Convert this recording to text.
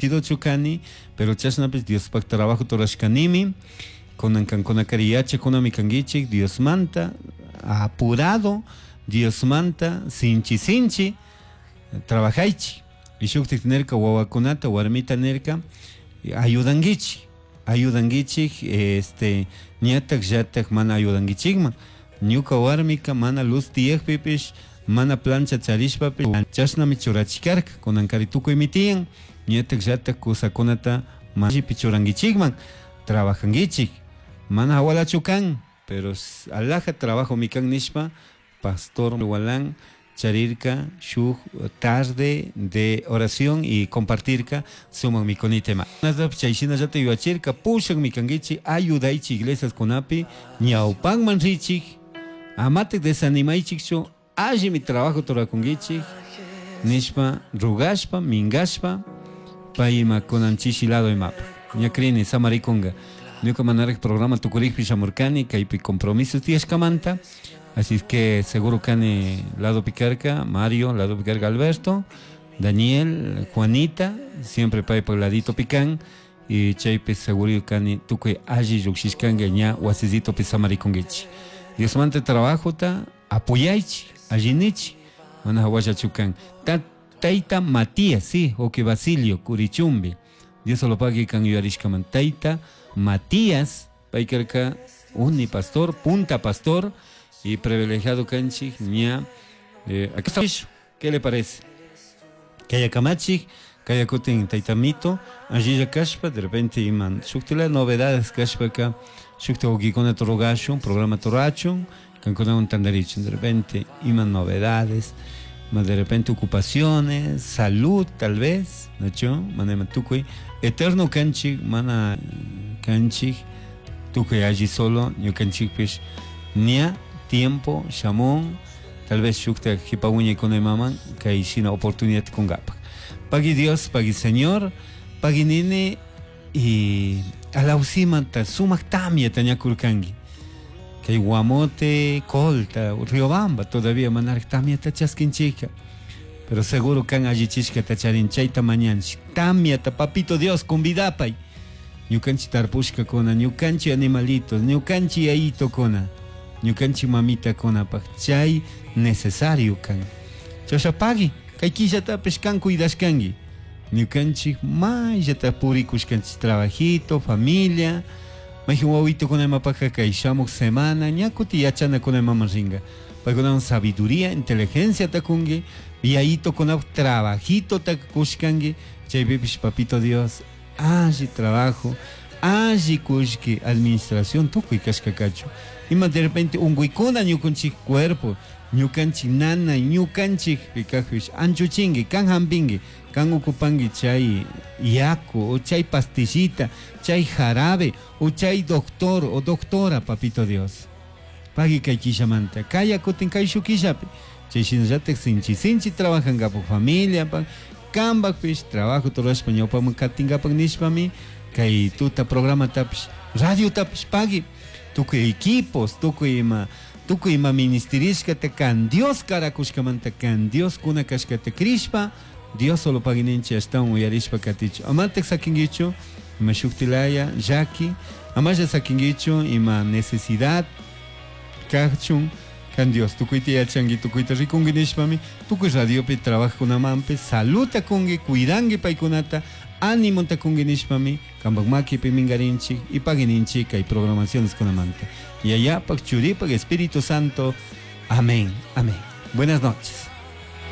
Ungidochu cani, pero chashnapish Diospaj trabajota rurashcanimi. Cunan cancunacari yachacunami canguichij Diosmanta apurado, Diosmanta sinchi sinchi trabajaichij. Y shujtaj nirca huahuacunata, warmita nirca ayudanguichij, ayudanguichij, este, ñataj llataj mana ayudanguichijman. Ñuca warmica mana luz tiyajpipish, mana plancha charishpapish chashnami churachicarca. Cunancari tucuymi tiyan, ñataj llataj cusacunata maquipi churanguichijman, trabajanguichij. Mana jahualachu can, pero alaja trabajomi can nishpa, Pastor Gualán charirca shuj tarde de oración y compartirca sumak mikuni tema. Chay shinallata yuyachirka pushakmi kanguichik ayudaychik iglesiaskunapi ñawpanman richik amatik desanimaychikchu allimi trabajo rurakunkichik nishpa rugashpa mingashpa pay ima kunan chishi lado imapaj ña crini samarikunga ñuka manaraj programa tukurikpi shamurkani kaypi compromisos tiyashkamanta. Así es que seguro kani lado picarca Mario, lado picarca Alberto, Daniel, Juanita, siempre paypak ladito pican y chaypi seguro kani tukuy alli llukshishkanka ña wasisitopi samarikunkichik. Diosmanta trabajota apoyaychik, allinichik, mana hawallachu kan. Tayta Matías, sí, Oque Basilio, Curichumbi. Dios solo pague kan yuyarishkaman. Tayta Matías, pay karka uni pastor, punta pastor y privilegiado kanchik ña aquí está. ¿Qué le parece? Kaya kamachik, kaya kutin tayta Mito, allilla kashpa, de repente iman shuktila novedades kashpaka, shukta wawkikunata rogashun, programa rurachun, kankunawan tantarichun, de repente iman novedades, ma de repente ocupaciones, salud tal vez, ¿no? Mana ima tukuy eterno kanchik, mana kanchik, tukuy alli solo, ñukanchikpish ña tiempo shamun, tal vez shukta jipa wiñaykuna imaman kay shina oportunidad kunkapak. Pagui Dios, pagui Señor, pagui nini y alawsimanta sumak tamyata ñakurkanki. Kay Guamote, Colta, Riobamba todavía manaraj tamyata chaskinchika. Pero seguro kan allichishkata charin chayta mañanchik. Tamyata, papito Dios, convidapay. Ñukanchik tarpushkakuna, ñukanchik animalitos, ñukanchik yayitokuna, ñukanchik mamitakunapaj chay necesario kan. Chasha pagui, kay killatapish kan cuidashkanki. Ñukanchik mayllata purikushkanchik trabajito, familia, mayjin wawitokuna imapajka kay shamuk semana, ña kuti yachanakuna imaman rinka. Paykunawan sabiduría, inteligenciata kunki, yayitokunapaj trabajitota kushkanki, chaypipish papito Dios, alli trabajo, alli kullki administración tukuy kashkakachu. Ima de repente unkuykuna ñukanchik cuerpo, ñukanchik nanay, ñukanchik kajpish anchuchinki, kan hampinki, kan ocupanki chay yaku o chay pastillita, chay jarabe o chay doctor o doctora, papito Dios. Pagui kay killamanta, kaya kutin kay shuk killapi. Chay shinallatak sinchi sinchi trabajankapak familiapak, kanpakpish trabajo rurashpa ñawpaman katinkapak nishpami kay tuta programatapish, radiotapish pagui. Tukuy equipos, tukuy ima, tukuy ima ministerishkata kan Dios karakushkamanta, kan Dios kuna kashkata crishpa, Dios solo paguininchi ashtawan uyarishpa katichu. Amatak sakinkichu ima shuktilaya llaki, amalla sakinkichu ima necesidad kachun, kan Dios tukuyta yachanki, tukuyta rikunki nishpami, tukuy radiopi trabajkunamanpish saluta kunki, cuidanki paykunata, ánimota kunki nishpami, kanpak makipi minkarinchik y paguininchik kay programaciones kunamanta. Yayapak, Churipak, Espíritu Santo. Amén, amén. Buenas noches.